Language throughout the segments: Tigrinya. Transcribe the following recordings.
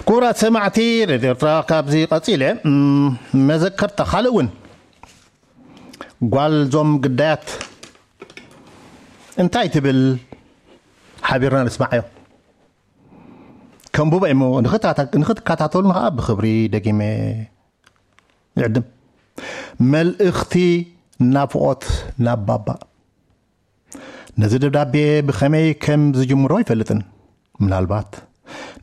ክቡራት ሰማዕቲ ሬድዮ ኤርትራ፣ ካብዚ ቀጺለ፣ እም፣ መዘከርታ ካልእ እውን ጓል ዞም ግዳያት እንታይ ትብል ሓቢርና ንስማዓዮ። ከንብቦ እሞ ንኽታታ-፣ ንኽትከታተሉና ከዓ ብኽብሪ ደጊመ ይዕድም። መልእኽቲ ናፍቖት ናብ ባባ። ነዚ ደብዳቤ ብኸመይ ከም ዝጅምሮ ኣይፈልጥን። ምናልባት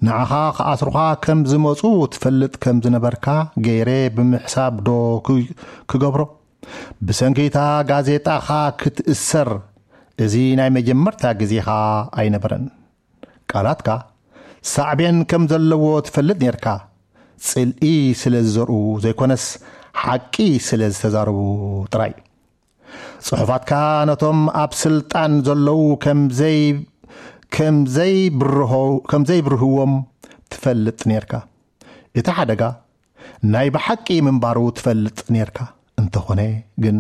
ንዓኻ ክኣስሩኻ ከም ዝመጹ ትፈልጥ ከም ዝነበርካ ገይረ ብምሕሳብ ዶ ክ-፣ ክገብሮ? ብሰንኪታ ጋዜጣኻ ክትእሰር እዚ ናይ መጀመርታ ግዜኻ ኣይነበረን። ቃላትካ ሳዕቤን ከም ዘለዎ ትፈልጥ ኔርካ። ጽልኢ ስለ ዝዘርኡ ዘይኮነስ፣ ሓቂ ስለ ዝተዛረቡ ጥራይ። ጽሑፋትካ ነቶም ኣብ ስልጣን ዘለዉ ከም ዘይ-፣ ከም ዘይብርሆ-፣ ከም ዘይብርህዎም ትፈልጥ ኔርካ። እቲ ሓደጋ ናይ ብሓቂ ምንባሩ ትፈልጥ ኔርካ። እንተኾነ ግን፣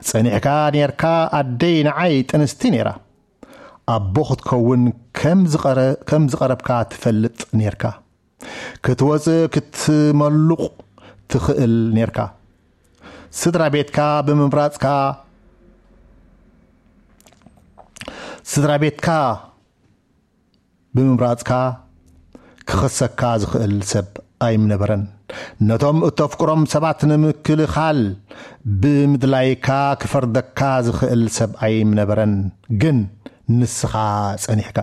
ጸኒሕካ ኔርካ። ኣደይ ንዓይ ጥንስቲ ኔራ። ኣቦ ክትከውን ከም ዝቐረ-፣ ከም ዝቐረብካ ትፈልጥ ኔርካ። ክትወጽእ ክትመሉቕ ትኽእል ኔርካ። ስድራ ቤትካ ብምምራጽካ፣ ስድራ ቤትካ ብምምራጽካ ክኸሰካ ዝኽእል ሰብ ኣይምነበረን። ነቶም እተፍቅሮም ሰባት ንምክልኻል ብምድላይካ ክፈርደካ ዝኽእል ሰብ ኣይምነበረን። ግን ንስኻ ጸኒሕካ።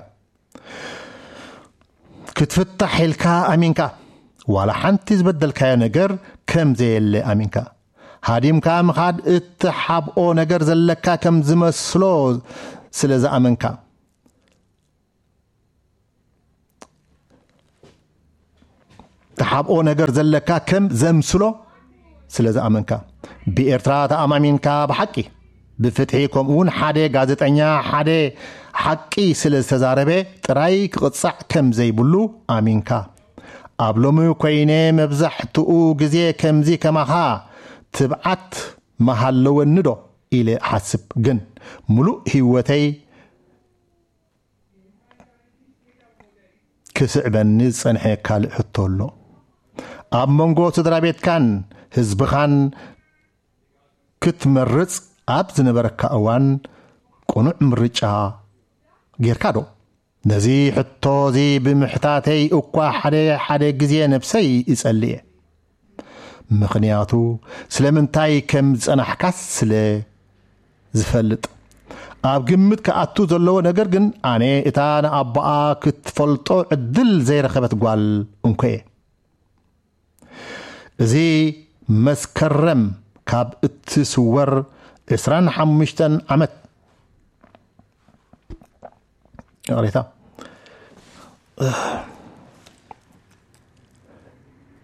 ክትፍታሕ ኢልካ ኣሚንካ። ዋላ ሓንቲ ዝበደልካዮ ነገር ከም ዘየለ ኣሚንካ። ሃዲምካ ምኻድ እትሓብኦ ነገር ዘለካ ከም ዝመስሎ ስለ ዝኣመንካ። ትሓብኦ ነገር ዘለካ ከም ዘምስሎ ስለ ዝኣመንካ። ብኤርትራ ተኣማሚንካ ብሓቂ፣ ብፍትሒ፣ ከምኡ እውን ሓደ ጋዜጠኛ ሓደ ሓቂ ስለ ዝተዛረበ ጥራይ ክቕጻዕ ከም ዘይብሉ ኣሚንካ። ኣብ ሎሚ ኮይነ መብዛሕትኡ ግዜ ከምዚ ከማኻ ትብዓት መሃለወኒ ዶ ኢለ እሓስብ። ግን ምሉእ ህይወተይ ክስዕበኒ ዝጸንሐ ካልእ ሕቶ ኣሎ። ኣብ መንጎ ስድራ ቤትካን ህዝብኻን ክትመርጽ ኣብ ዝነበረካ እዋን ቅኑዕ ምርጫ ጌርካ ዶ? ነዚ ሕቶ እዚ ብምሕታተይ እኳ ሓደ ሓደ ግዜ ነብሰይ ይጸልእ እየ። ምኽንያቱ ስለምንታይ ከም ዝጸናሕካስ ስለ ዝፈልጥ። ኣብ ግምት ክኣቱ ዘለዎ ነገር ግን፣ ኣነ እታ ንኣቦኣ ክትፈልጦ ዕድል ዘይረኸበት ጓል እንኮ እየ። እዚ መስከረም ካብ እትስወር ዕስራን ሓሙሽተን ዓመት፣ ይቕሬታ፣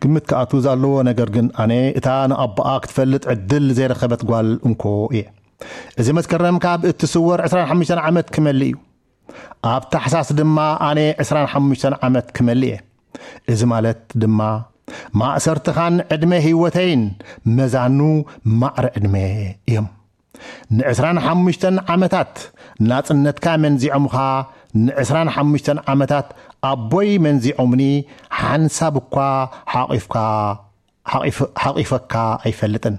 ግምት ክኣቱ ዘለዎ ነገር ግን፣ ኣነ እታ ንኣቦኣ ክትፈልጥ ዕድል ዘይረኸበት ጓል እንኮ እየ። እዚ መስከረም ካብ እትስወር ዕስራን ሓሙሽተን ዓመት ክመልእ እዩ። ኣብ ታሕሳስ ድማ ኣነ ዕስራን ሓሙሽተን ዓመት ክመልእ እየ። እዚ ማለት ድማ፣ ማእሰርትኻን ዕድመ ህይወተይን መዛኑ ማዕረ ዕድመ እዮም። ንዕስራን ሓሙሽተን ዓመታት ናጽነትካ መንዚዖምኻ፣ ንዕስራን ሓሙሽተን ዓመታት ኣቦይ መንዚዖምኒ፣ ሓንሳብ እኳ ሓቒፍካ፣ ሓቒፍ-፣ ሓቒፈካ ኣይፈልጥን።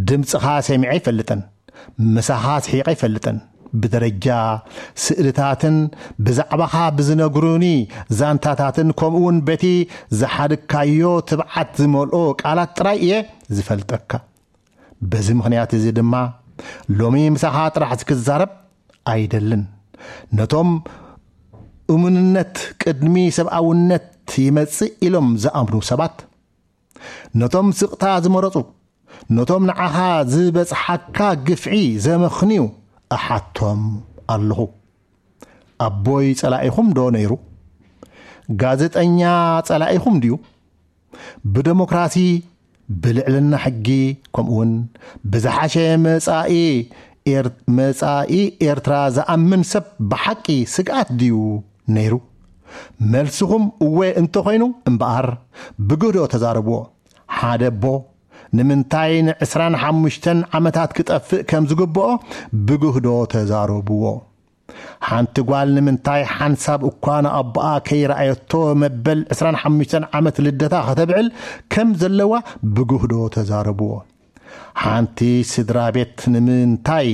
ድምጽኻ ሰሚዐ ኣይፈልጥን። ምሳኻ ስሒቐ ኣይፈልጥን። ብደረጃ ስእልታትን ብዛዕባኻ ብዝነግሩኒ ዛንታታትን፣ ከምኡውን በቲ ዝሓድካዮ ትብዓት ዝመልኦ ቃላት ጥራይ እየ ዝፈልጠካ። በዚ ምኽንያት እዚ ድማ፣ ሎሚ ምሳኻ ጥራሕ ክዛረብ ኣይደልን። ነቶም እሙንነት ቅድሚ ሰብኣውነት ይመጽእ ኢሎም ዝኣምኑ ሰባት፣ ነቶም ስቕታ ዝመረጹ፣ ነቶም ንዓኻ ዝበጽሓካ ግፍዒ ዘመኽንዩ እሓቶም ኣለኹ። ኣቦይ ጸላኢኹም ዶ ነይሩ? ጋዜጠኛ ጸላኢኹም ድዩ? ብደሞክራሲ፣ ብልዕልና ሕጊ፣ ከምኡውን ብዝሓሸ መጻኢ ኤር-፣ መጻኢ ኤርትራ ዝኣምን ሰብ ብሓቂ ስግኣት ድዩ ነይሩ? መልስኹም እወ እንተኾይኑ እምበኣር፣ ብግህዶ ተዛረብዎ። ሓደ ኣቦ ንምንታይ ንዕስራን ሓሙሽተን ዓመታት ክጠፍእ ከም ዝግብኦ ብግህዶ ተዛረብዎ። ሓንቲ ጓል ንምንታይ ሓንሳብ እኳ ንኣቦኣ ከይረኣየቶ መበል ዕስራን ሓሙሽተን ዓመት ልደታ ከተብዕል ከም ዘለዋ ብግህዶ ተዛረብዎ። ሓንቲ ስድራ ቤት ንምንታይ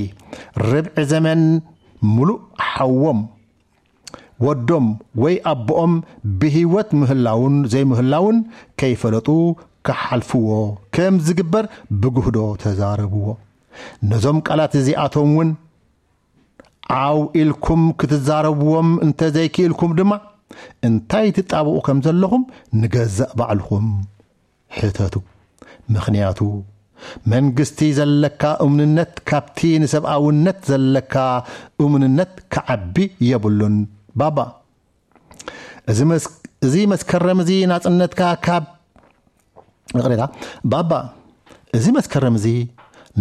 ርብዒ ዘመን ምሉእ ሓዎም፣ ወዶም ወይ ኣቦኦም ብህይወት ምህላውን ዘይምህላውን ከይፈለጡ ክሓልፍዎ ከም ዝግበር ብግህዶ ተዛረብዎ። ነዞም ቃላት እዚኣቶም እውን ዓው ኢልኩም ክትዛረብዎም እንተዘይክኢልኩም ድማ፣ እንታይ ትጣብቑ ከም ዘለኹም ንገዛእ ባዕልኹም ሕተቱ። ምኽንያቱ፣ መንግስቲ ዘለካ እምንነት ካብቲ ንሰብኣውነት ዘለካ እምንነት ክዓቢ የብሉን። ባባ፣ እዚ መስ-፣ እዚ መስከረም እዚ ናጽነትካ ካብ፣ ይቕሬታ፣ ባባ፣ እዚ መስከረም እዚ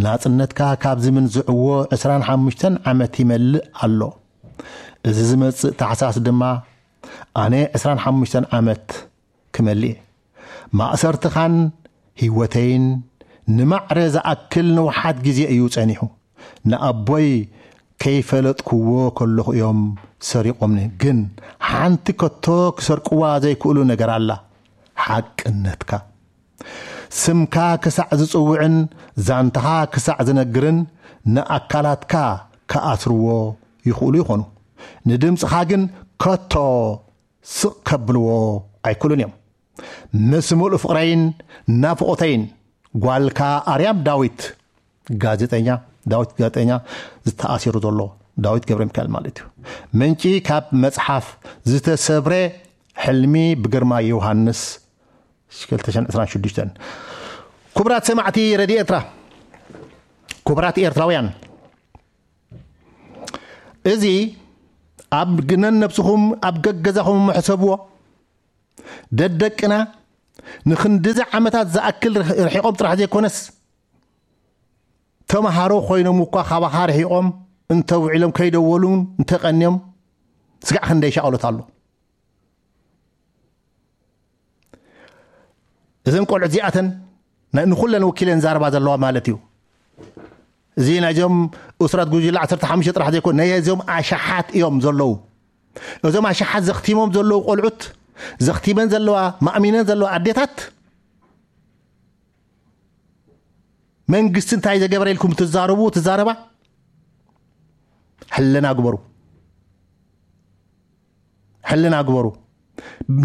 ናጽነትካ ካብ ዝምንዝዕዎ ዕስራን ሓሙሽተን ዓመት ይመልእ ኣሎ። እዚ ዝመጽእ ታሕሳስ ድማ ኣነ ዕስራን ሓሙሽተን ዓመት ክመልእ እየ። ማእሰርትኻን ህይወተይን ንማዕረ ዝኣክል ንውሓት ግዜ እዩ ጸኒሑ። ንኣቦይ ከይፈለጥክዎ ከለኹ እዮም ሰሪቖምኒ። ግን ሓንቲ ከቶ ክሰርቅዋ ዘይክእሉ ነገር ኣላ፣ ሓቅነትካ። ስምካ ክሳዕ ዝጽውዕን ዛንታኻ ክሳዕ ዝነግርን ንኣካላትካ ክኣስርዎ ይኽእሉ ይኾኑ። ንድምጽኻ ግን ከቶ ስቕ ከብልዎ ኣይክእሉን እዮም። ምስ ምሉእ ፍቕረይን ናፍቖተይን፣ ጓልካ ኣርያም ዳዊት፣ ጋዜጠኛ፣ ዳዊት ጋዜጠኛ ዝተኣሲሩ ዘሎ፣ ዳዊት ገብረ ሚካኤል ማለት እዩ። ምንጪ ካብ መጽሓፍ ዝተሰብረ ሕልሚ ብግርማ ዮሃንስ፣ ክልተ ሽሕን ዕስራን ሽዱሽተን። ክቡራት ሰማዕቲ ሬድዮ ኤርትራ፣ ክቡራት ኤርትራውያን፣ እዚ ኣብ ግነን ነብስኹም ኣብ ገገዛኹም ሕሰብዎ። ደደቅና ንክንድዚ ዓመታት ዝኣክል ርሕ-፣ ርሒቖም ጥራሕ ዘይኮነስ፣ ተምሃሮ ኮይኖም እኳ ካባኻ ርሒቖም እንተውዒሎም ከይደወሉን እንተቐንዮም፣ ስጋዕ ክንደይ ሻቕሎት ኣሎ። እዘን ቆልዑት እዚኣተን ናይ-፣ ንኹለን ወኪለን ዛረባ ዘለዋ ማለት እዩ። እዚ ናይዞም እሱራት ጉጅለ ዓሰርተ ሓሙሽተ ጥራሕ ዘይኮነ፣ ናይ እዞም ኣሽሓት እዮም ዘለዉ። እዞም ኣሽሓት ዘኽቲሞም ዘለዉ ቆልዑት፣ ዘኽቲመን ዘለዋ፣ ማእሚነን ዘለዋ ኣዴታት፣ መንግስቲ እንታይ ዘገበረ ኢልኩም ትዛረቡ፣ ትዛረባ፣ ሕልና ግበሩ። ሕልና ግበሩ።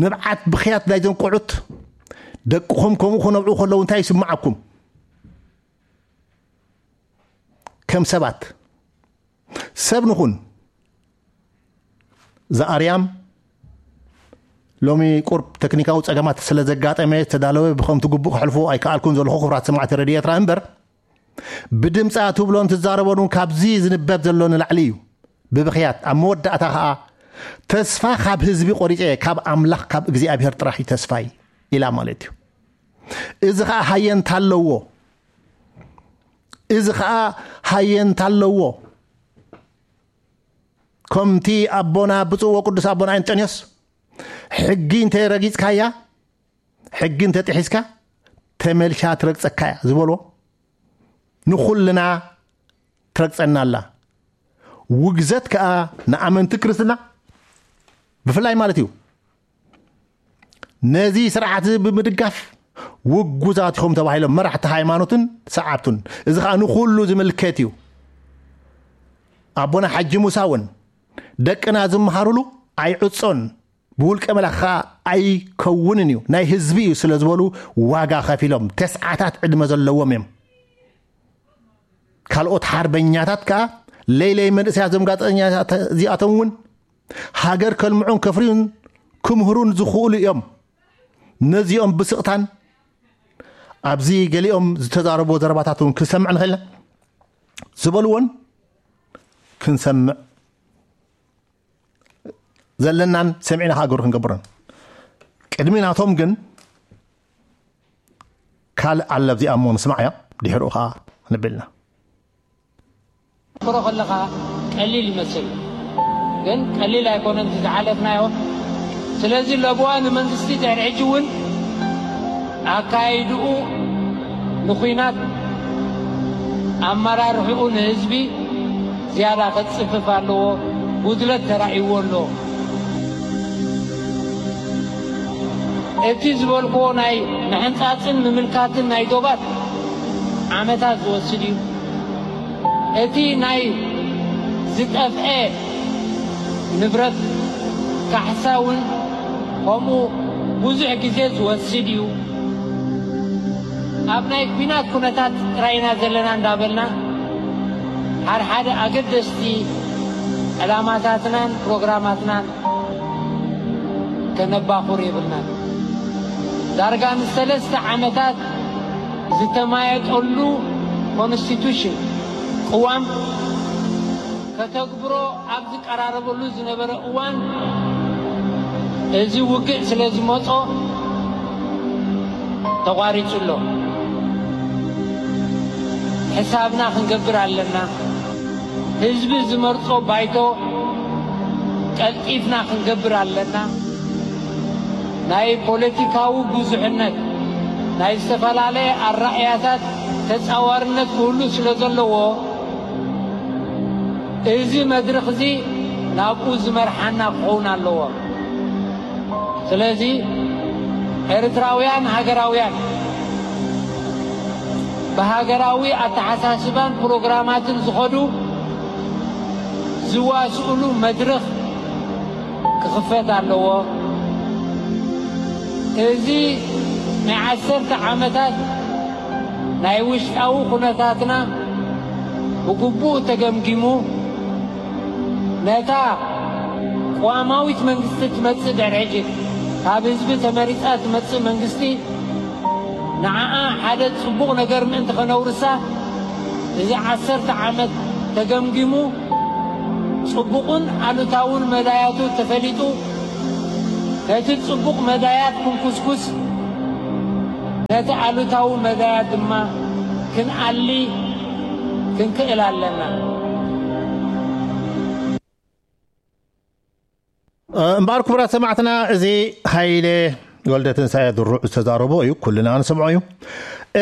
ንብዓት ብኽያት ናይዞም ቆዑት፣ ደቅኹም ከምኡ ክነብዑ ከለዉ እንታይ ይስምዓኩም? ከም ሰባት ሰብ ንኹን። ዝኣርያም ሎሚ ቁርብ ተክኒካዊ ጸገማት ስለ ዘጋጠመ ዝተዳለወ ብኸምቲ ግቡእ ከሕልፎ ኣይከኣልኩን ዘለኹ፣ ክቡራት ሰማዕቲ ሬድዮ ኤርትራ እምበር፣ ብድምጻ ትብሎን ትዛረቦን እውን ካብዚ ዝንበብ ዘሎ ንላዕሊ እዩ። ብብኽያት፣ ኣብ መወዳእታ ኸኣ፣ "ተስፋ ካብ ህዝቢ ቆሪጸ፣ ካብ ኣምላኽ ካብ እግዚኣብሔር ጥራሕ እዩ ተስፋይ" ኢላ ማለት እዩ። እዚ ኸኣ ሃየንታ ኣለዎ። እዚ ኸኣ ሃየንታ ኣለዎ። ከምቲ ኣቦና ብፁዕ ወቅዱስ ኣቦና ኣንጠንዮስ፣ "ሕጊ እንተ ረጊጽካያ፣ ሕጊ እንተ ጥሒስካ፣ ተመልሻ ትረግጸካ እያ" ዝበሎ፣ ንኹልና ትረግጸና ኣላ። ውግዘት ከኣ ንኣመንቲ ክርስትና ብፍላይ ማለት እዩ። ነዚ ስርዓት እዚ ብምድጋፍ ውጉዛት ኢኹም ተባሂሎም መራሕቲ ሃይማኖትን ሰዓብቱን። እዚ ኸኣ ንኹሉ ዝምልከት እዩ። ኣቦና ሓጂ ሙሳ እውን፣ "ደቅና ዝመሃሩሉ ኣይዕጾን፣ ብውልቀ መላኺ ኸኣ ኣይከውንን እዩ፣ ናይ ህዝቢ እዩ" ስለ ዝበሉ ዋጋ ከፊሎም፣ ተስዓታት ዕድመ ዘለዎም እዮም። ካልኦት ሓርበኛታት ከኣ ለይለይ መንእሰያት፣ እዞም ጋዜጠኛታት እዚኣቶም እውን ሃገር ከልምዑን ከፍርዩን ክምህሩን ዝኽእሉ እዮም። ነዚኦም ብስቕታን ኣብዚ ገሊኦም ዝተዛረብዎ ዘረባታት እውን ክንሰምዕ ንኽእል ኢና። ዝበልዎን ክንሰምዕ ዘለናን ሰሚዕና ኸኣ ግብሪ ክንገብርን። ቅድሚ ናቶም ግን ካልእ ኣሎ፣ ኣብዚኣ እሞ ንስማዓያ፣ ድሕሪኡ ኸኣ ክንብል ኢና። ትፍክሮ ከለኻ ቀሊል ይመስል፣ ግን ቀሊል ኣይኮነን እቲ ዝሓለፍናዮ። ስለዚ ለበዋ ንመንግስቲ ድሕሪ ሕጂ እውን ኣካይድኡ ንኹናት ኣመራርሕኡ ንህዝቢ ዝያዳ ከጽፍፍ ኣለዎ። ጉድለት ተራእይዎ ኣሎ። እቲ ዝበልክዎ ናይ ምሕንጻጽን ምምልካትን ናይ ዶባት ዓመታት ዝወስድ እዩ። እቲ ናይ ዝጠፍአ ንብረት ካሕሳ እውን ከምኡ ብዙሕ ግዜ ዝወስድ እዩ። ኣብ ናይ ኲናት ኩነታት ጥራይና ዘለና እንዳበልና ሓድሓደ ኣገደስቲ ዕላማታትናን ፕሮግራማትናን ከነባኹር የብልናን። ዳርጋ ንሰለስተ ዓመታት ዝተማየጠሉ ኮንስቲቱሽን ቅዋም ከተግብሮ ኣብ ዝቀራረበሉ ዝነበረ እዋን እዚ ውግእ ስለ ዝመጾ ተቋሪጹ ኣሎ። ሕሳብና ክንገብር ኣለና። ህዝቢ ዝመርጾ ባይቶ ቀልጢፍና ክንገብር ኣለና። ናይ ፖለቲካዊ ብዙሕነት፣ ናይ ዝተፈላለየ ኣራእያታት ተጻዋርነት ክህሉ ስለ ዘለዎ፣ እዚ መድረኽ እዚ ናብኡ ዝመርሓና ክኸውን ኣለዎ። ስለዚ ኤርትራውያን ሃገራውያን ብሃገራዊ ኣተሓሳስባን ፕሮግራማትን ዝኸዱ ዝዋስኡሉ መድረኽ ክኽፈት ኣለዎ። እዚ ናይ ዓሰርተ ዓመታት ናይ ውሽጣዊ ኩነታትና ብግቡእ ተገምጊሙ፣ ነታ ቅዋማዊት መንግስቲ ትመጽእ ድሕሪ ሕጂ፣ ካብ ህዝቢ ተመሪጻ ትመጽእ መንግስቲ፣ ንዓኣ ሓደ ጽቡቕ ነገር ምእንቲ ከነውርሳ፣ እዚ ዓሰርተ ዓመት ተገምጊሙ፣ ጽቡቕን ኣሉታውን መዳያቱ ተፈሊጡ፣ ነቲ ጽቡቕ መዳያት ክንኩስኩስ፣ ነቲ ኣሉታዊ መዳያት ድማ ክንኣሊ ክንክእል ኣለና። እምበኣር ክቡራት ሰማዕትና፣ እዚ ሃይለ ወልደ ትንሳኤ ድሩዕ ዝተዛረቦ እዩ፣ ኩልና ንሰምዖ እዩ።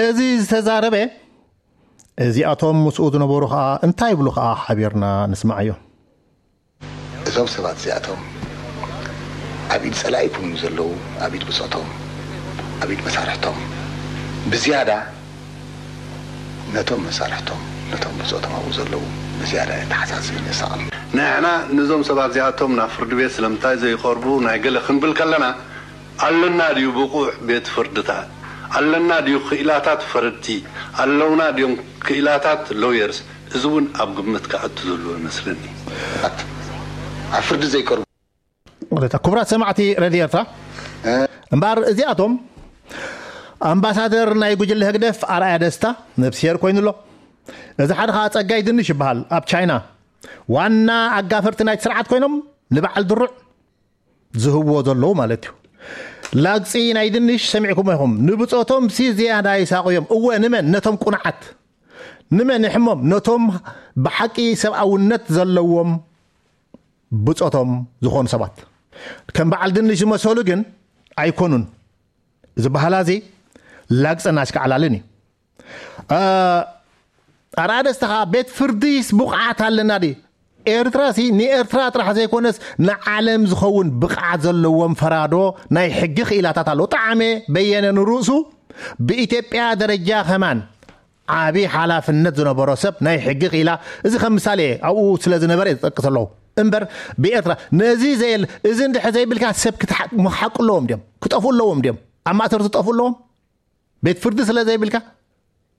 እዚ ዝተዛረበ፣ እዚኣቶም ምስኡ ዝነበሩ ኸዓ እንታይ ይብሉ ኸዓ ሓቢርና ንስማዓዮ። እዞም ሰባት እዚኣቶም ኣብ ኢድ ጸላኢ ይኩኑ ዘለዉ፣ ኣብ ኢድ ብጾቶም፣ ኣብ ኢድ መሳርሕቶም፣ ብዝያዳ ነቶም መሳርሕቶም፣ ነቶም ብጾቶም ኣብኡ ዘለዉ ብዝያዳ የተሓሳስብን የሳቕን። ንሕና ንዞም ሰባት እዚኣቶም ናብ ፍርዲ ቤት ስለምንታይ ዘይቐርቡ ናይ ገለ ክንብል ከለና፣ ኣለና ድዩ ብቑዕ ቤት ፍርድታት? ኣለና ድዩ ክኢላታት ፈረድቲ? ኣለውና ድዮም ክኢላታት ሎየርስ? እዚ እውን ኣብ ግምት ክኣቱ ዘለዎ ይመስለኒ። ኣብ ፍርዲ ዘይቀርቡ ክቡራት ሰማዕቲ ሬድዮ ኤርትራ፣ እምበኣር እዚኣቶም ኣምባሳደር ናይ ጉጅለ ህግደፍ ኣርኣያ ደስታ ነብስሄር ኮይኑ ኣሎ። እዚ ሓደ ከዓ ጸጋይ ድንሽ ይበሃል፣ ኣብ ቻይና ዋና ኣጋፈርቲ ናይቲ ስርዓት ኮይኖም ንበዓል ድሩዕ ዝህብዎ ዘለዉ ማለት እዩ። ላግጺ ናይ ድንሽ ሰሚዕኩሞ ኢኹም። ንብጾቶም ሲ ዝያዳ ይሳቑዮም። እወ፣ ንመን? ነቶም ቁኑዓት። ንመን ይሕሞም? ነቶም ብሓቂ ሰብኣውነት ዘለዎም ብጾቶም ዝኾኑ ሰባት። ከም በዓል ድንሽ ዝመሰሉ ግን ኣይኮኑን። እዚ በሃላ እዚ ላግጽን ኣሽካዕላልን እዩ። ኣርኣያ ደስታ ከዓ ቤት ፍርዲስ ብቕዓት ኣለና ድዩ? ኤርትራ ሲ ንኤርትራ ጥራሕ ዘይኮነስ ንዓለም ዝኸውን ብቕዓት ዘለዎም ፈራዶ ናይ ሕጊ ክኢላታት ኣለዎ። ጣዕመ በየነ ንርእሱ ብኢትዮጵያ ደረጃ ከማን ዓቢ ሓላፍነት ዝነበሮ ሰብ ናይ ሕጊ ክኢላ፣ እዚ ከም ምሳሌ ኣብኡ ስለ ዝነበረ እየ ዝጠቅስ ኣለኹ። እምበር ብኤርትራ ነዚ ዘየለ እዚ እንድሕር ዘይብልካ ሰብ ክትሓ- መሓቁ ኣለዎም ድዮም? ክጠፍኡ ኣለዎም ድዮም? ኣብ ማእሰርቲ ክጠፍኡ ኣለዎም? ቤት ፍርዲ ስለ ዘይብልካ፣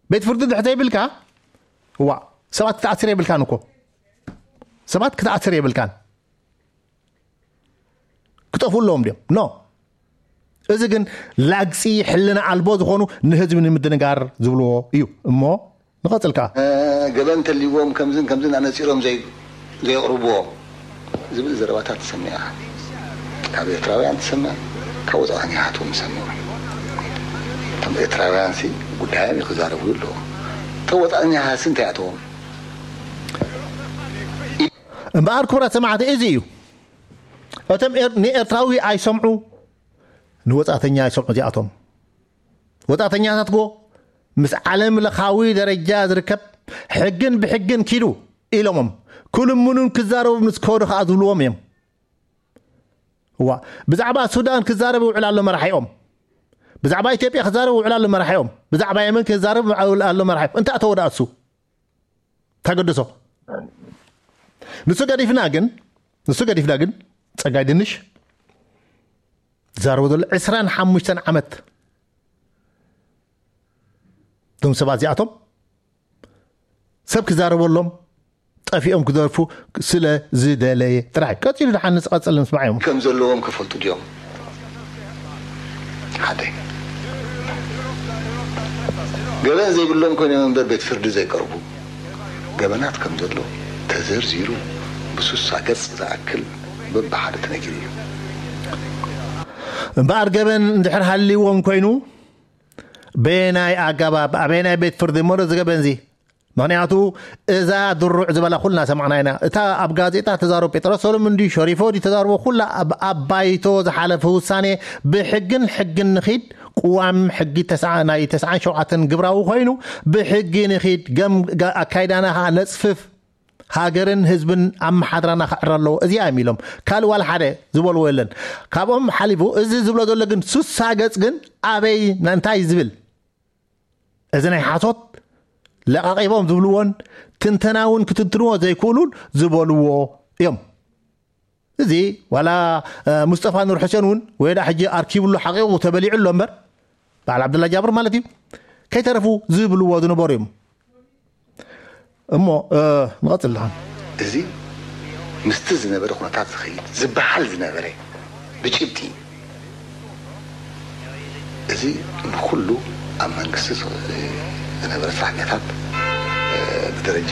ቤት ፍርዲ ድሕር ዘይብልካ፣ ዋ ሰባት ክትኣስር የብልካን እኮ። ሰባት ክትኣስር የብልካን። ክጠፍኡ ኣለዎም ድዮም? ኖ። እዚ ግን ላግጺ ሕልና ኣልቦ ዝኾኑ ንህዝቢ ንምድንጋር ዝብልዎ እዩ። እሞ ንቐጽል ከኣ። ገበን እንተልይዎም ከምዝን ከምዝን ኣነጺሮም ዘይ- ዘየቕርብዎ ዝብል ዘረባታት ትሰምዕ ኢኻ። ካብ ኤርትራውያን ትሰምዕ፣ ካብ ወጻእተኛታት እውን ትሰምዕ። እቶም ኤርትራውያን ሲ ጉዳዮም እዩ ክዛረቡ ኣለዎም። እቶም ወጻእተኛታት ሲ እንታይ ኣተዎም? እምበኣር ክቡራት ሰማዕቲ እዚ እዩ። እቶም ኤር- ንኤርትራዊ ኣይሰምዑ፣ ንወጻእተኛ ኣይሰምዑ እዚኣቶም። ወጻእተኛታት ጎ ምስ ዓለም ለኻዊ ደረጃ ዝርከብ ሕግን ብሕግን ኪዱ ኢሎሞም ክልምኑን ክዛረቡ ምስ ከዱ ከዓ ዝብልዎም እዮም። እዋ፣ ብዛዕባ ሱዳን ክዛረብ ይውዕል ኣሎ መራሒኦም። ብዛዕባ ኢትዮጵያ ክዛረብ ይውዕል ኣሎ መራሒኦም። ብዛዕባ የመን ክዛረብ ይውዕል ኣሎ መራሒኦም። እንታይ ተወዳ እሱ? ተገድሶ። ንሱ ገዲፍና ግን፣ ንሱ ገዲፍና ግን፣ ጸጋይ ድንሽ ዝዛረቦ ዘሎ ዕስራን ሓሙሽተን ዓመት፣ እቶም ሰባት እዚኣቶም ሰብ ክዛረበሎም ጠፊኦም ክደርፉ ስለ ዝደለየ ጥራሕ። ቀጺሉ ደሓን ንዝቐጽል ንምስማዕ እዮም። ከም ዘለዎም ክፈልጡ ድዮም? ሓደ። ገበን ዘይብሎም ኮይኖም እምበር ቤት ፍርዲ ዘይቀርቡ ገበናት ከም ዘሎ ተዘርዚሩ ብሱሳ ገጽ ዝኣክል በብሓደ ተነጊሩ እዩ። እምበኣር ገበን እንድሕር ሃልይዎም ኮይኑ በየናይ ኣገባብ ኣበየናይ ቤት ፍርዲ እሞ እዚ ገበን እዚ? ምኽንያቱ እዛ ድሩዕ ዝበላ ኩልና ሰማዕና ኢና። እታ ኣብ ጋዜጣ ተዛረቡ ጴጥሮስ ሰሎሞን ድዩ ሸሪፎ ድዩ ተዛረቦ ኩላ ኣብ ኣብ ባይቶ ዝሓለፈ ውሳኔ ብሕግን ሕግን ንኺድ ቅዋም ሕጊ ተስዓ- ናይ ተስዓን ሸውዓተን ግብራዊ ኮይኑ ብሕጊ ንኺድ ገም ጋ- ኣካይዳና ከዓ ነጽፍፍ ሃገርን ህዝብን ኣመሓድራና ክዕረ ኣለዎ እዚኣ እዮም ኢሎም ካልእ ዋላ ሓደ ዝበልዎ የለን። ካብኦም ሓሊፉ እዚ ዝብሎ ዘሎ ግን ሱሳ ገጽ ግን ኣበይ እንታይ ዝብል እዚ ናይ ሓሶት ለቓቒቦም ዝብልዎን ትንተና እውን ክትንትንዎ ዘይክእሉን ዝበልዎ እዮም። እዚ ዋላ እ፣ ሙስጠፋ ኑር ሕሴን እውን ወይ ዳ ሕጂ ኣርኪብሉ ሓቂቑ ተበሊዑ ኣሎ እምበር በዓል ዓብደላ ጃብር ማለት እዩ ከይተረፉ ዝብልዎ ዝነበሩ እዮም። እሞ እ፣ ንቐፅል ደሓን። እዚ ምስቲ ዝነበረ ኩነታት ዝኸይድ ዝበሃል ዝነበረ ብጭብጢ እዚ ንኩሉ ኣብ መንግስቲ ዝ- ዝነበረ ሰራሕተኛታት እ፣ ብደረጃ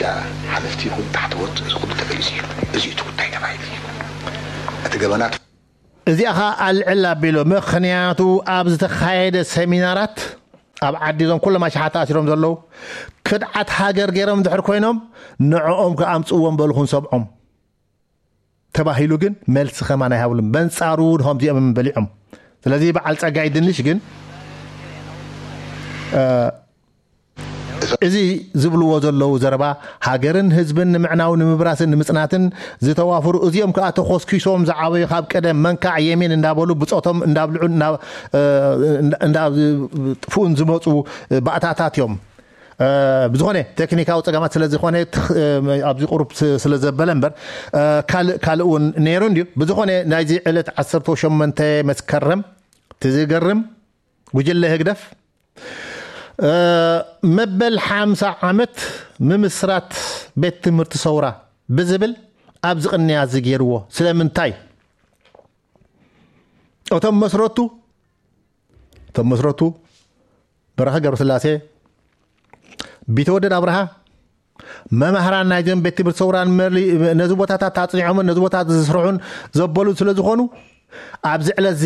ሓለፍቲ ይኹን ታሕተዎት እዚ ኩሉ ተገሊጹ እዩ። እዚ እቲ ጉዳይ ተባሂሉ እዩ። እቲ ገበናት እዚኣ ኸዓ ኣልዕል ኣቢሉ ምኽንያቱ ኣብ ዝተኻየደ ሰሚናራት ኣብ ዓዲ እዞም ኩሎም ኣሽሓት ተኣሲሮም ዘለዉ ክድዓት ሃገር ገይሮም እንድሕር ኮይኖም ንዕኦም ከኣምፅዎም በልኹን ሰብዖም ተባሂሉ ግን መልሲ ከማን ኣይሃብሉን። በንጻሩ ድሆም እዚኦም በሊዖም። ስለዚ በዓል ጸጋይ ድንሽ ግን እ፣ እዚ ዝብልዎ ዘለዉ ዘረባ ሃገርን ህዝብን ንምዕናው ንምብራስን ንምጽናትን ዝተዋፍሩ እዚኦም ከዓ ተኾስኪሶም ዝዓበዩ ካብ ቀደም መንካዕ የሚን እንዳበሉ ብጾቶም እንዳብልዑ እንዳ- እ፣ እንዳ- እንዳጥፍኡን ዝመፁ ባእታታት እዮም። እ፣ ብዝኾነ ቴክኒካዊ ፀገማት ስለ ዝኾነ ትኽ- እ፣ ኣብዚ ቁሩብ ስ- ስለ ዘበለ እምበር እ፣ ካልእ ካልእ እውን ነይሩ እንድዩ። ብዝኾነ ናይዚ ዕለት ዓሰርተ ሸሞንተ መስከረም ትዝገርም ጉጅለ ህግደፍ እ፣ መበል ሓምሳ ዓመት ምምስራት ቤት ትምህርቲ ሰውራ ብዝብል ኣብዚ ቅንያ እዚ ገይርዎ። ስለምንታይ? እቶም መስረቱ እቶም መስረቱ በረኸ ገብረስላሴ፣ ቢተወደድ ኣብርሃ መማህራን ናይዞም ቤት ትምህርቲ ሰውራን መሊ ነዚ ቦታታት ኣፅኒዖምን ነዚ ቦታታት ዝስርሑን ዘበሉን ስለ ዝኾኑ ኣብዚ ዕለት እዚ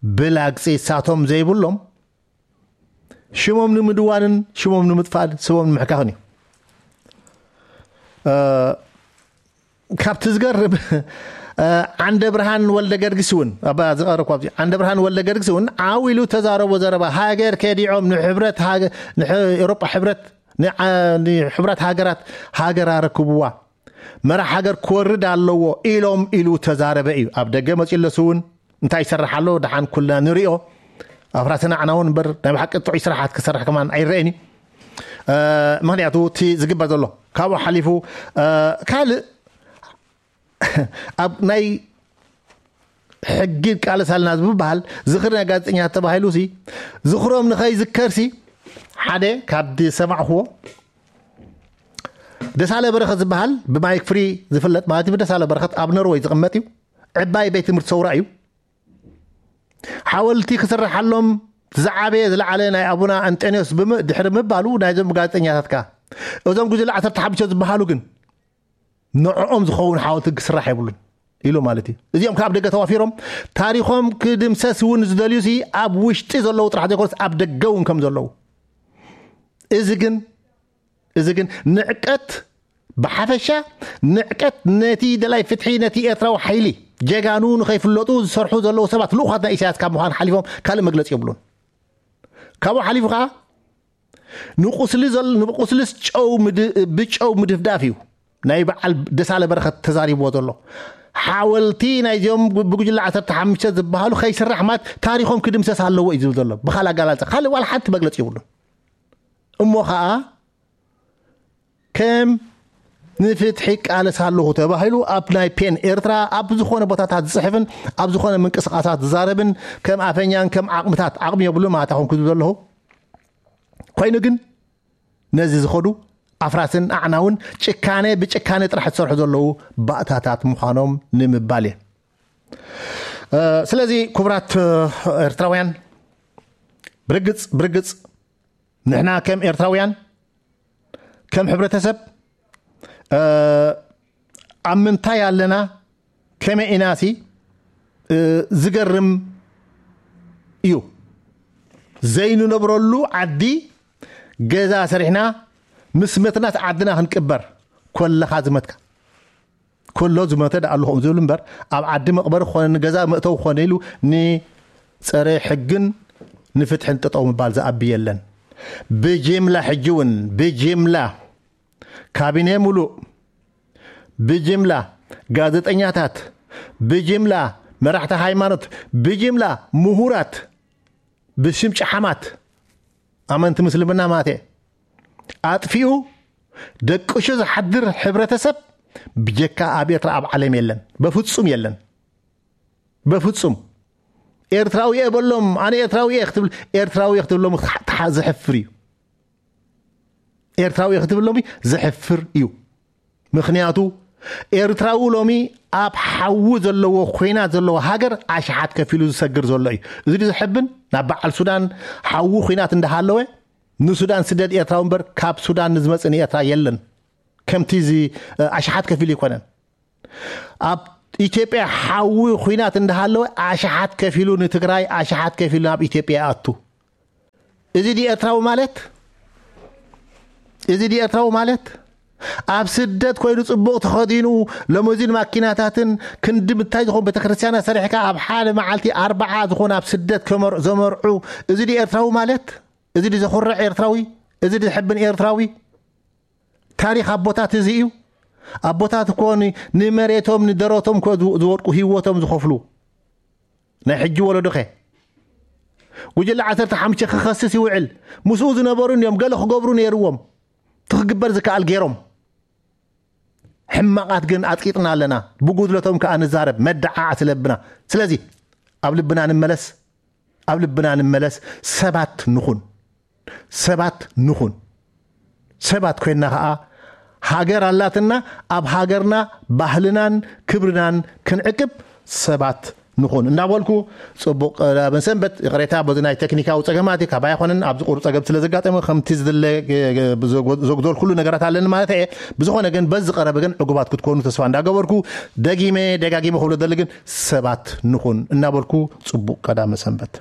ብላግፂ እሳቶም ዘይብሎም ሽሞም ንምድዋንን ሽሞም ንምጥፋል ስሞም ንምሕካኽን እዩ። እ፣ ካብቲ ዝገርም እ፣ ዓንደ ብርሃን ወልደ ገርግስ እውን ኣብ ዝቐረብኩ ኣብዚ ዓንደ ብርሃን ወልደ ገርግስ እውን ዓው ኢሉ ተዛረቦ ዘረባ ሃገር ከዲዖም ንሕብረት ሃገ- ንሕ- ኤውሮጳ ሕብረት ንዓ- ንሕብረት ሃገራት ሃገር ኣረክብዋ መራሕ ሃገር ክወርድ ኣለዎ ኢሎም ኢሉ ተዛረበ እዩ። ኣብ ደገ መፂኡ ኣለሱ እውን እንታይ ይሰርሕ ኣሎ ደሓን ኩልና ንሪኦ። ኣፍራስና ዓና እውን እምበር ናይ ብሓቂ ጥዑይ ስራሓት ክሰርሕ ከማን ኣይረአን እዩ። እ፣ ምክንያቱ እቲ ዝግበር ዘሎ ካብኡ ሓሊፉ እ፣ ካልእ ኣብ ናይ ሕጊ ቃለስ ኣለና ዝብሃል ዝኽሪ ናይ ጋዜጠኛታት ተባሂሉ ሲ ዝኽሮም ንኸይዝከር ሲ ሓደ ካብ ዝሰማዕክዎ ደሳለ በረኸት ዝበሃል ብማይክ ፍሪ ዝፍለጥ ማለት እዩ። ደሳለ በረኸት ኣብ ኖርወይ ዝቕመጥ እዩ። ዕባይ ቤት ትምህርቲ ሰውራ እዩ። ሓወልቲ ክስርሓሎም ዝዓበየ ዝለዓለ ናይ ኣቡና ኣንጠንዮስ ድሕሪ ምባሉ ናይዞም ጋዜጠኛታት ከ እዞም ጉጅለ ዓሰርተ ሓሙሽተ ዝበሃሉ ግን ንዕኦም ዝኸውን ሓወልቲ ክስራሕ የብሉን ኢሉ ማለት እዩ። እዚኦም ካብ ደገ ተዋፊሮም ታሪኾም ክድምሰስ እውን ዝደልዩ ሲ ኣብ ውሽጢ ዘለዉ ጥራሕ ዘይኮነስ ኣብ ደገ እውን ከም ዘለዉ እዚ ግን እዚ ግን ንዕቀት ብሓፈሻ ንዕቀት ነቲ ደላይ ፍትሒ ነቲ ኤርትራዊ ሓይሊ ጀጋኑ ንኸይፍለጡ ዝሰርሑ ዘለዉ ሰባት ልኡኻት ናይ ኢሳያስ ካብ ምዃን ሓሊፎም ካልእ መግለፂ የብሉን። ካብኡ ሓሊፉ ከዓ ንቁስሊ ዘል- ንቁስልስ ጨው ምድ- ብጨው ምድፍዳፍ እዩ። ናይ በዓል ደሳለ በረኸት ተዛሪብዎ ዘሎ ሓወልቲ ናይዚኦም ብጉጅለ ዓሰርተ ሓሙሽተ ዝበሃሉ ከይስራሕ ማለት ታሪኾም ክድምሰስ ኣለዎ እዩ ዝብል ዘሎ። ብኻል ኣጋላልጸ ካልእ ዋላ ሓንቲ መግለጺ ይብሉን። እሞ ኸኣ ከም ንፍትሒ ቃለስ ኣለኹ ተባሂሉ ኣብ ናይ ፔን ኤርትራ ኣብ ዝኾነ ቦታታት ዝጽሕፍን ኣብ ዝኾነ ምንቅስቃሳት ዝዛረብን ከም ኣፈኛን ከም ዓቕምታት ዓቕሚ የብሉን ማለት ኣኹም ክዝብ ዘለኹ ኮይኑ ግን ነዚ ዝኸዱ ኣፍራስን ኣዕናውን ጭካነ ብጭካነ ጥራሕ ዝሰርሑ ዘለዉ ባእታታት ምዃኖም ንምባል እየ። ስለዚ ክቡራት ኤርትራውያን ብርግጽ ብርግጽ ንሕና ከም ኤርትራውያን ከም ሕብረተሰብ ኣብ ምንታይ ኣለና ከመይ ኢናሲ ዝገርም እዩ። ዘይንነብረሉ ዓዲ ገዛ ሰሪሕና ምስ መትናስ ዓድና ክንቅበር ኮለኻ ዝመትካ ኮሎ ዝመተ ደኣ ኣለኹም ዝብል እምበር ኣብ ዓዲ መቕበሪ ክኾነ ንገዛ መእተው ክኾነ ኢሉ ንፀረ ሕግን ንፍትሕን ጠጠው ምባል ዝኣቢ የለን። ብጅምላ ሕጂ እውን ብጅምላ ካቢኔ ሙሉእ ብጅምላ ጋዜጠኛታት ብጅምላ መራሕቲ ሃይማኖት ብጅምላ ምሁራት ብሽም ጨሓማት ኣመንቲ ምስልምና ማተ ኣጥፊኡ ደቅሹ ዝሓድር ሕብረተሰብ ብጀካ ኣብ ኤርትራ ኣብ ዓለም የለን። በፍጹም የለን። በፍጹም ኤርትራዊ እየ በሎም ኣነ ኤርትራዊ እየ ክትብል ኤርትራዊ እየ ክትብሎም ዝሕፍር እዩ። ኤርትራዊ እየ ክትብል ሎሚ ዝሕፍር እዩ። ምኽንያቱ ኤርትራዊ ሎሚ ኣብ ሓዊ ዘለዎ ኮይናት ዘለዎ ሃገር ኣሽሓት ከፊሉ ዝሰግር ዘሎ እዩ። እዚ ዘሕብን ናብ በዓል ሱዳን ሓዊ ኮይናት እንዳሃለወ ንሱዳን ስደድ ኤርትራዊ እምበር ካብ ሱዳን ንዝመጽእ ንኤርትራ የለን። ከምቲ እዚ ኣሽሓት ከፊሉ ይኮነን ኣብ ኢትዮጵያ ሓዊ ኩናት እንዳሃለወ ኣሽሓት ከፊሉ ንትግራይ ኣሽሓት ከፊሉ ናብ ኢትዮጵያ ኣቱ። እዚ ዲ ኤርትራዊ ማለት እዚ ዲ ኤርትራዊ ማለት ኣብ ስደት ኮይኑ ጽቡቕ ተኸዲኑ ለሞዚን ማኪናታትን ክንዲ ምታይ ዝኾን ቤተክርስትያና ሰሪሕካ ኣብ ሓደ መዓልቲ ኣርባዓ ዝኾን ኣብ ስደት ከመር ዘመርዑ እዚ ዲ ኤርትራዊ ማለት እዚ ዲ ዘኹርዕ ኤርትራዊ እዚ ዲ ዝሕብን ኤርትራዊ ታሪኽ ኣቦታት እዚ እዩ። ኣቦታት እኮ ንመሬቶም ንደረቶም እኮ ዝወድቁ ህይወቶም ዝኸፍሉ ናይ ሕጂ ወለዶኸ ጉጅለ ዓሰርተ ሓሙሽተ ክኸስስ ይውዕል። ምስኡ ዝነበሩ እዮም ገለ ክገብሩ ነይርዎም ትክግበር ዝከኣል ገይሮም ሕማቓት ግን ኣጥቂጥና ኣለና። ብጉድለቶም ከዓ ንዛረብ መደዓዓ ስለብና ስለዚ ኣብ ልብና ንመለስ ኣብ ልብና ንመለስ ሰባት ንኹን ሰባት ንኹን ሰባት ኮይንና ኸዓ ሃገር ኣላትና ኣብ ሃገርና ባህልናን ክብርናን ክንዕቅብ ሰባት ንኹን እንዳበልኩ ጽቡቕ ቀዳመ ሰንበት ይቕሬታ በዚ ናይ ቴክኒካዊ ጸገማት እዩ ካባይ ኣይኮነን ኣብዚ ቁሩብ ጸገም ስለ ዘጋጠመ ከምቲ ዝድለ ዘጉደልኩሉ ነገራት ኣለኒ ማለት እየ ብዝኾነ ግን በዚ ቀረበ ግን ዕጉባት ክትኮኑ ተስፋ እንዳገበርኩ ደጊመ ደጋጊመ ክብሎ ደሊ ግን ሰባት ንኹን እናበልኩ ጽቡቕ ቀዳመ ሰንበት